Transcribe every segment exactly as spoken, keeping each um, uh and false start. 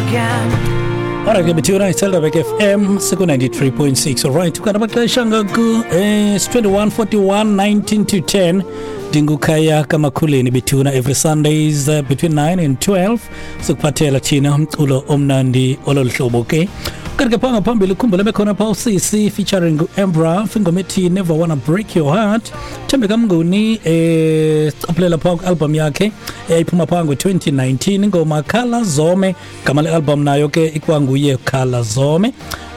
again. Alright, ke bethuna iSelderberg F M siku ninety-three point six. Alright, kanti amaxesha ngoku eh it's twenty-one forty-one nineteen to ten. Ndingukhaya kaMakhuleni bethuna every Sundays uh, between nine and twelve sikuphathela thina umculo omnandi ololuhlobo ke. Kanti ke phanga phambili ukhumbule bekhona pha uCC featuring Embra ingoma ethi Never Wanna Break Your Heart. Thembeka Mnguni eh sicaphulela pha album yakhe eyayiphuma pha ngo twenty nineteen ingoma Khala Zome, gama le album nayo ke ikwanguye Khala Zome.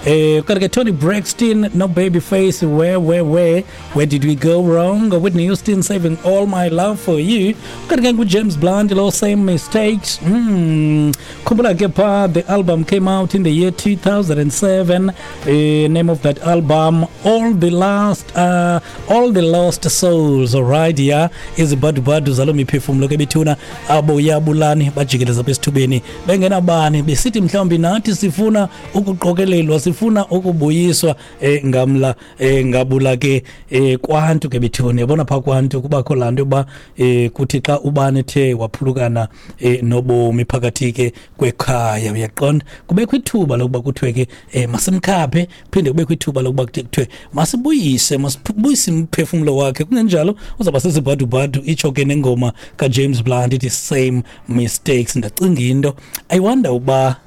Eh kanti ke Tony Braxton No Baby Face, Where Where Where Where Did We Go Wrong, Whitney Houston Saving All My Love For You. Kanti ke James Blunt lo Same Mistakes. Mm. Khumbula ke pha the album came out in the year two thousand seven. Uh, name of that album All the Last uh, All the Lost Souls. All right, yeah, izibadubadu zalo miphefumulo ke bethuna abo yabulani bajikeleza besithubeni bengenabani besithi mhlawumbi nathi sifuna ukuqokelelwa sifuna ukubuyiswa eh, ngamla eh, ngabula ke eh, kwantu ke bethuna yabona pha kwantu kubakho lanto ba eh, kuthi xa ubani ethe waphulukana eh, nobomi phakathi ke kwekhaya uyaqonda kubekho ithuba lokuba kuthiwe ke eh, masimkhaphe phinde kubekho ithuba lokuba kuthiwe masibuyise masibuyise umphefumulo wakhe kungenjalo uzaba sesibhadubhadu itsho ke nengoma ka James Blunt ithi Same Mistakes. Ndacinga into I wonder uba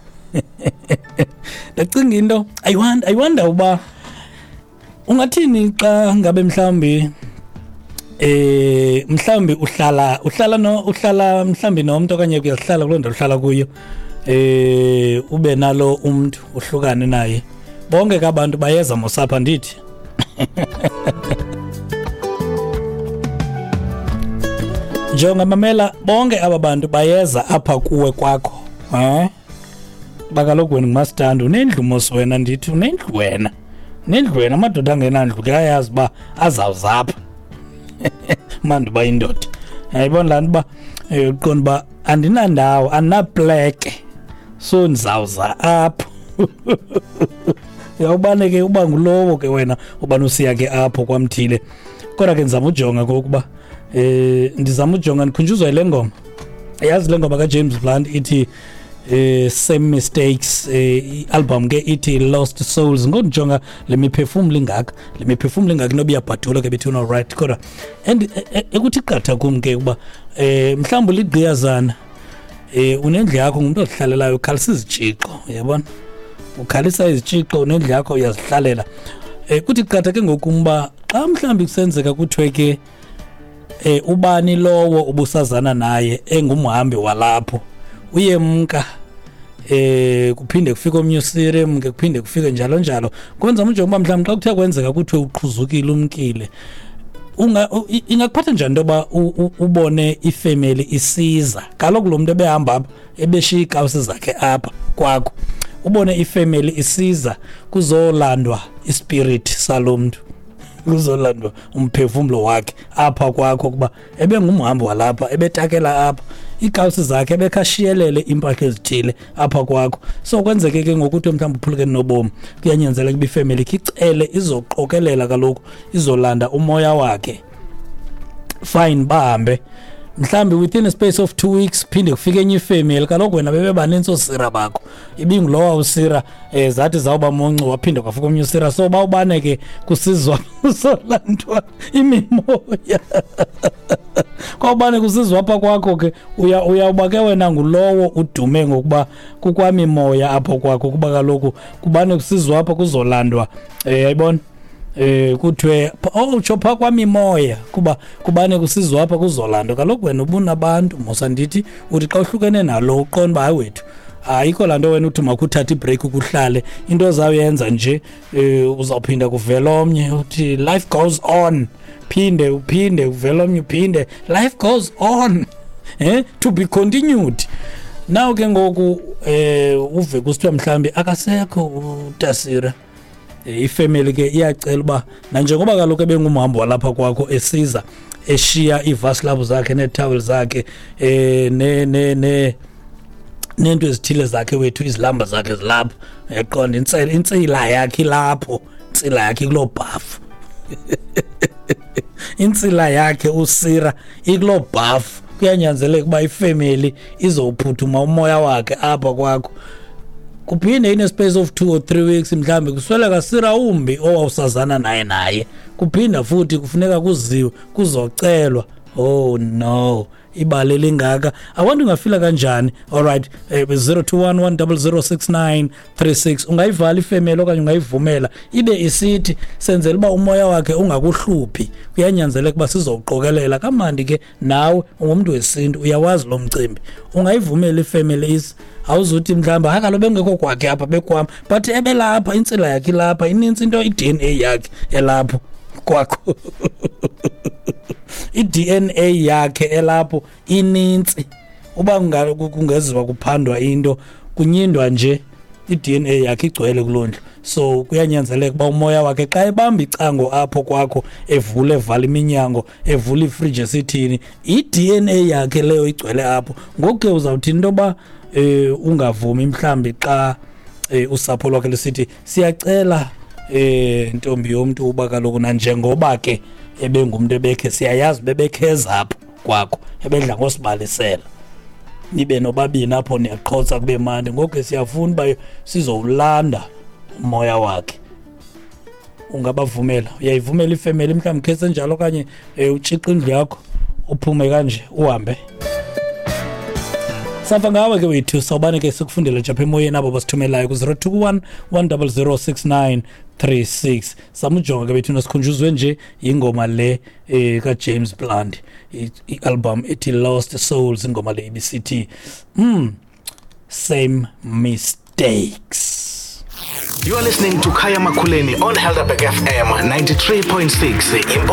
ndacinga into I wonder I wonder uba ungathini xa ngabe mhlambi eh mhlambi uhlala uhlala no uhlala mhlambi nomuntu okanye uyahlala kuloo ndawo uhlala kuyo eh ube nalo umuntu uhlukane naye bonke ke abantu bayeza mosapha ndithi njengoba mamela bonke aba bantu bayeza apha kuwe kwakho eh bakaloku wena ngumastandi unendlu mos wena ndithi unendlu wena nendlu wena amadoda angenandlu ke ayazi uba azawuzapha manje uba indoda yayibona laa nto uba uqonda uba andinandawo andinapleke so ndizawuza apho uyawubane ke uba ngulowo ke wena ubani usiya ke apho kwamthile kodwa ke ndizama ujonga ngokuba eh ndizama ujonga ndikhunjuzwa yile ngoma yazi le ngoma kaJames Blunt ithi eh Same Mistakes eh album ke ithi Lost Souls ngonjonga le miphefumulo ingaka le miphefumulo ingaka noba iyabhadula ke bethu no right kodwa and ekuthi qatha kum ke kuba eh mhlawumbe ligqiyazana eh unendlu yakho ngumuntu odlalelayo ukhalisa izitshixo uyabona ukhalisa izitshixo unendlu yakho uyazihlalela eh kuthi qatha ke ngokumba xa mhlawumbe kusenzeka kuthiwe ke eh ubani lowo ubusazana naye engumhambi walapho uyemka eh kuphinde kufike omnye usire ke kuphinde kufike njalo njalo kwenza manje ngoba mhlawumbe xa kuthe kwenzeka kuthiwe uqhuzukile umkile unga ingakuphatha njani ntoba ubone ifamily isiza kaloku lo muntu ebehamba apha ebeshiya iikawusi zakhe apha kwakho ubone ifamily isiza kuzolandwa ispirit salo mntu kuzolandwa umphefumulo wakhe apha kwakho kuba ebengumhambi walapha ebetakela apha iikawusi zakhe ebekhashiyelele iimpahla ezithile apha kwakho so kwenzeke ke ngokuthi mhlawumbi uphulukene nobomi kuyanyanzeleka uba ifemeli icele izoqokelela kaloku izolanda umoya wakhe fine bahambe mhlambi within a space of two weeks phinde kufike enye ifemeli kaloku wena bebebanintsi oosira bakho ibingulowa usira eh zathi zawuba moncu waphinde kwafika omnye usira so bawubane ke kusizwa kuzolandwa imimoya kwawubane kusizwa apha kwakho ke uya uyawuba ke wena ngulowo udume ngokuba kukwamimoya apho kwakho kuba kaloku kubane kusizwa apha kuzolandwa eh yayibona eh kuthiwe oh utsho pha kwamimoya kuba kubane kusizwa apha kuzolandwa kaloku wena ubunabantu mosa ndithi uthi xa uhlukene nalo uqonda uba hayi wethu ayikho laa nto wena uthi makuthathe ibreak ukuhlale into ozawuyenza nje eh uzawuphinda kuvela omnye uthi life goes on phinde uphinde uvela omnye uphinde life goes on eh to be continued now ke ngoku eh uve kusithiwa mhlawumbi akasekho uTasira ifamily ke iyacela uba nanjengoba kaloku ebengumhambi walapha kwakho esiza eshiya iivaslabu zakhe neetowel zakhe eh ne ne ne nento ezithile zakhe wethu izilamba zakhe zilapho yaqonda intsela intsila yakhe lapho intsila yakhe kuloo bhafu intsila yakhe usira ikuloo bhafu kuyanyanzeleka uba ifamily izowuphuthuma umoya wakhe apha kwakho. Kuphinde in a space of two or three weeks mhlambe kusweleka sirawumbi owawusazana naye naye kuphinda futhi kufuneka kuziwe kuzocelwa. Oh no, ibali lingaka. I want ungafila kanjani? Alright, eh, zero two one one zero zero six nine three six. Ungayivala ifemeli okanye ungayivumela ibe isithi senzela uba umoya wakhe ungakuhluphi, kuyanyanzeleka uba sizowuqokelela kamandi ke. Nawe ungumntu wesintu, uyawazi lo mcimbi. Ungayivumela ifemeli is awuzuthi mhlawumbe hayi kaloku bengekho kwakhe apha bekwam, but ebelapha, intsila yakhe ilapha, inintsi into, i-D N A yakhe elapho kwakho. I-D N A yakhe elapho inintsi. Uba kungeziwa kuphandwa into kunyindwa nje, i-D N A yakhe igcwele kuloo ndlu. So kuyanyanzeleka uba umoya wakhe xa ebamba icango apho kwakho, evule evala iminyango, evule ifriji esithini, i-D N A yakhe leyo igcwele apho. Ngoku ke uzawuthini into yoba eh ungavumi mhlambi xa eh, usapho lwakhe lisithi siyacela eh ntombi yomntu uba kaloku nanjengoba ke ebengumntu ebekhe siyayazi bebekheza apho kwakho, ebedla ngosibalisela, nibe nobabini apho niyaqhotsa kube mandi, ngoku ke siyafuna uba sizowulanda umoya wakhe. Ungabavumela? Uyayivumela ifemeli mhlawumbi khese njalo okanye eh, utshixe indlu yakho uphume kanje uhambe? Safa ngawe ke wethu, sawubane ke sikufundele nje apha emoyeni abo basithumelayo ku zero two one one zero zero six nine three six. Samujonga ke bethu nasikhunjuzwe nje ingoma le eh, ka James Blunt, i-album ethi Lost Souls, ingoma le ibisithi mm same mistakes. You are listening to Khaya Makhuleni on Helderberg F M ninety-three point six.